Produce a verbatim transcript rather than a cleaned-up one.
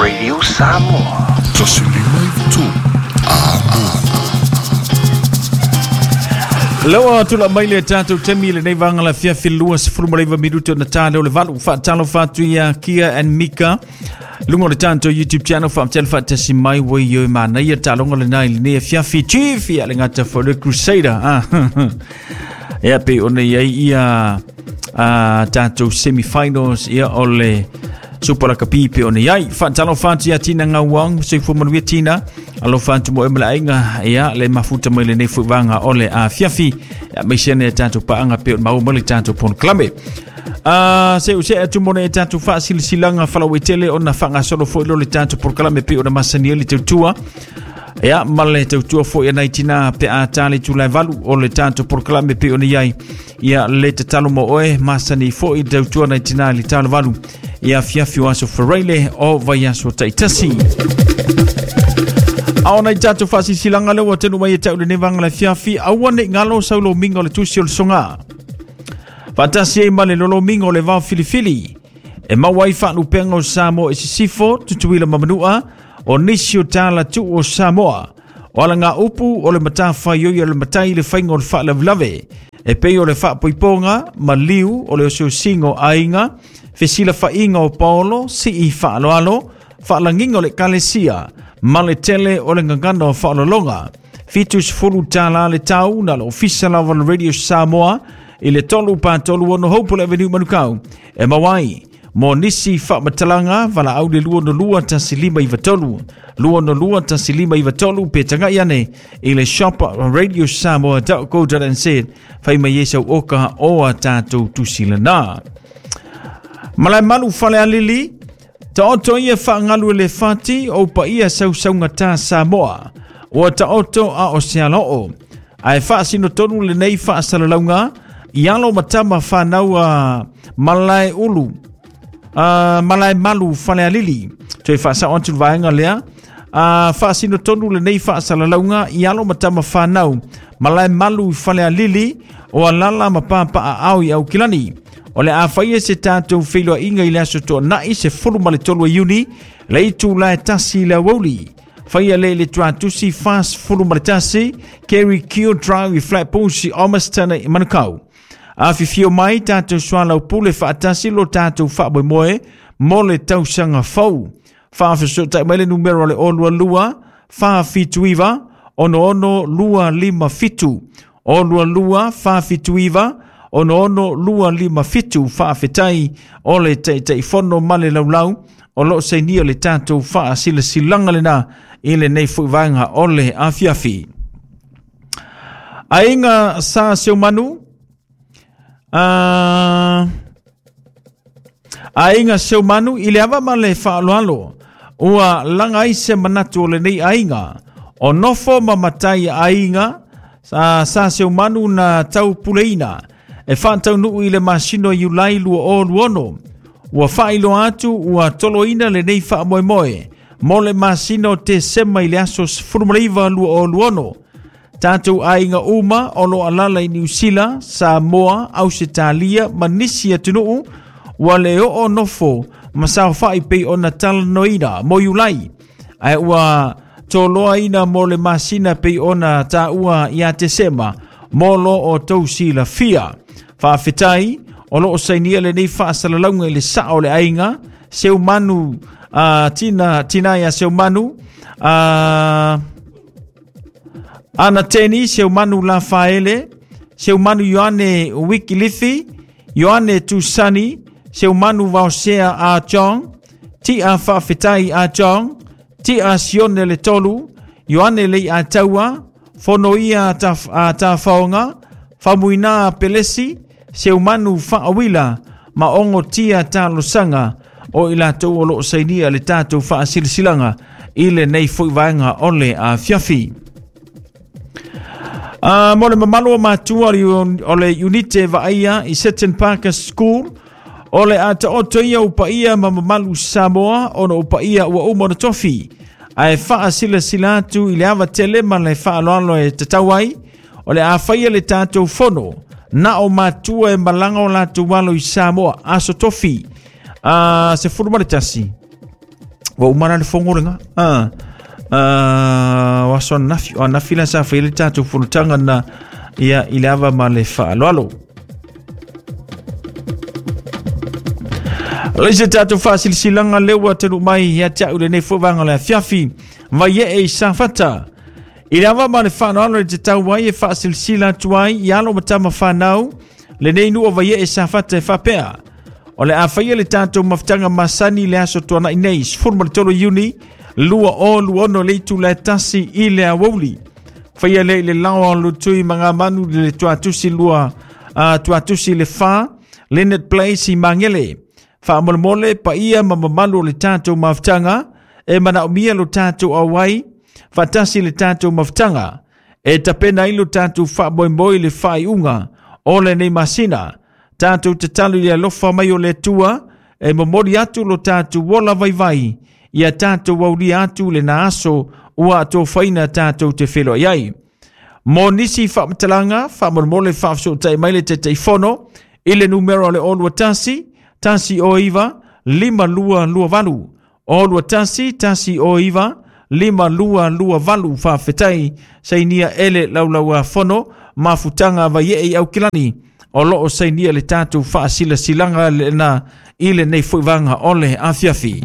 Radio Samoa. Lewa tula mai le tatou temi le nei vanga la fia filua sefulu ma leiva minuto na tale o le valu whaatalo whatu ia Kia and Mika. Lunga o le tatou YouTube channel whaamtele whaatasi mai wai yo mana ia talonga le nai le nei fiafi chief ia le ngata fo le Crusader. Ah. Ia pe ona ia ia a tatou semifinals ia o le Super Rugby pe ona iai. Whaatalo whatu ia Tina Ngauang, se fu manuia Tina. Alofa atu mo e mala ainga ia le mafuta mai le nei fuivanga o le a fiafi. Ia mai sene e tatou paanga pe o mau mai le tatou polokalame. Uh, se use atu mo ne tatou faasilisilanga falauetele ona faagasolo foi lo le tatou polokalame pe ona masani le tautua. Ia ma le tautua foi e nai tina pe a tale tulai valu o le tatou polokalame pe ona iai. Ia le tatalo mo oe masani foi tautua nai tina le talo valu. Ia fiafi o aso Ferreile o vai aso taitasi. Aona i tatou faasilisilanga lea ua tenu mai e tau lenei vaga le fiafi aua nei galo saulomiga o le tusi o le soga. Faatasi ai ma le lolomiga o le vao filifili. E maua ai faalupega o Samoa i sisifo, Tutuila ma Manua, o nisi o tala tuu o Samoa. O alaga upu o le matafaioi o le matai le faiga o le faalavelave. E pei o le faapoipoga, maliu o le osiosiga o aiga, fesilafaiga o paolo, sii faaloalo, faalagiga o le ekalesia, ma le tele o le gagana o faalologa. Fitu sefulu tala le tau na le ofisa lava le Radio Samoa i le tolu pa tolu ono Hopewell Avenue Manukau. E mawai, mo nisi faamatalaga valaau le lua no lua tasi lima iva tolu. Lua no lua tasi lima iva tolu pe tangai ane i le shop radio samoa dot co dot n z. Fai mai e sau oka o a tātou tusilana. Malae malu fale alili, taoto ia whaangalu le fati o pa ia sausaunga tā Samoa. O taoto a o se aloo. Ae whaasino tonu le nei whaasalalaunga, i alo matama whanau a malae ulu, a malae malu fale alili. Toi whaasao atu vaenga lea, a whaasino tonu le nei whaasalalaunga, i alo matama whanau, malae malu fale alili, o alala mapapa a au i au kilani. O le a whaia se tātou whiloa inga i le aso toa nai se fulu ma le tolu e Iuni, le itu lae tasi le awauli. Whaia le le tuatusi fast fulu ma le tasi, Kerry Keo Drive i Flatbush i Ormiston i Manukau. A whiwhio mai tātou sualau pule whaatasi lo tātou whaamoemoe mo le tausanga fau. Whaafesotai mai le numero le olua lua, whaafituiva, ono ono lua lima fitu. Olua lua, whaafituiva, ono ono lua lima fitu whaafetai o le taitaifono ma le laulau o loo sainia le tātou faasilasilanga lena i lenei fuivaega o le afiafi. Aiga sa Seumanu, uh, aiga Seumanu i le ava ma le faaloalo ua laga ai se manatu o lenei aiga o nofo ma matai aiga sa, sa Seumanu na taupuleina e whaataunuu i le masino Iulai lua o luono. Ua whaailoa atu ua toloina le nei whaamoemoe mo le masino te sema i le aso sefulu ma le iva lua o luono. Tātou aiga uma o lo alala i Niu Sila, Samoa, Ausetalia ma nisi atunuu ua le oo nofo ma saofai pei ona talanoina mo Iulai. Ae ua toloaina mo le masina pei ona tāua ia Tesema mo lo o tau silafia. Faafetai o loo sainia lenei faasalalauga i le sao o le aiga Seumanu, uh, tina, tina ia Seumanu, uh, Anateni Seumanu Lafaele, Seumanu Ioane Wikilifi, Ioane Tusani, Seumanu Vaosea A Chong, Tia Faafetai A Chong, Tia Sione Le Tolu, Ioane Lei A Taua, Fonoia a Tafaonga, Famuina Pelesi, Seumanu Faawila, ma ongo tia talosanga o i latou o loo sainia le tatou faasilisilanga i lenei foi vaega o le afiafi. Uh, mo le mamalu o matua o le unite vaaia i Seton Parker School o le ataoto ia upaia ma mamalu Samoa ona upaia ua uma ona tofi. Ae faasilasila atu i le ava tele ma le faaloalo e tatau ai o le afaia le tatou fono na o matua e malaga o latou alo i Samoa aso tofi uh, se fulu ma le tasi. Ua uma la le fogo lega a o aso anafi o anafi la sa faia le tatou fonotaga na ia i le ava ma le faaaloalo. Le se tatou faasilasilaga lea ua taunuu mai ia te au lenei foi vaega o le afiafi vai ee i Safata. I le ava ma le faaaloalo le tatau ai e faasilasila atu ai i alo ma tama fanau lenei nuu o Vaiee Safata e faapea. O le a faia le tatou mafutaga masani le aso tuanai nei, sefulu ma le tolu Iuni, lua o lua ono le itula e tasi i le aoauli. Faia lea i le laoa o Lutui Magamanu le tuatusi lua, uh, tuatusi le fa, Leonard Place i Magele. Faamolemole paia ma mamalu o le tatou mafutaga e manaomia lo tatou auai, faatasi le tatou mafutaga e tapena ai lo tatou faamoemoe i le faaiuga o lenei masina. Tatou tatalo i le alofa mai o le Atua e momoli atu lo tatou ola vaivai ia tatou aulia atu lena aso ua atofaina tatou te feiloai ai. Mo nisi faamatalaga, faamolemole faafesootai mai le Taitaifono i le numera o le olua tasi, tasi o iva, lima lua lua valu. Olua tasi, tasi o iva, lima lua lua valu. Faafetai sainia ele laulaua fono mafutaga Vaiee i Aukilani o loo sainia le tatou faasilasilaga lena i lenei foi vaega o le afiafi.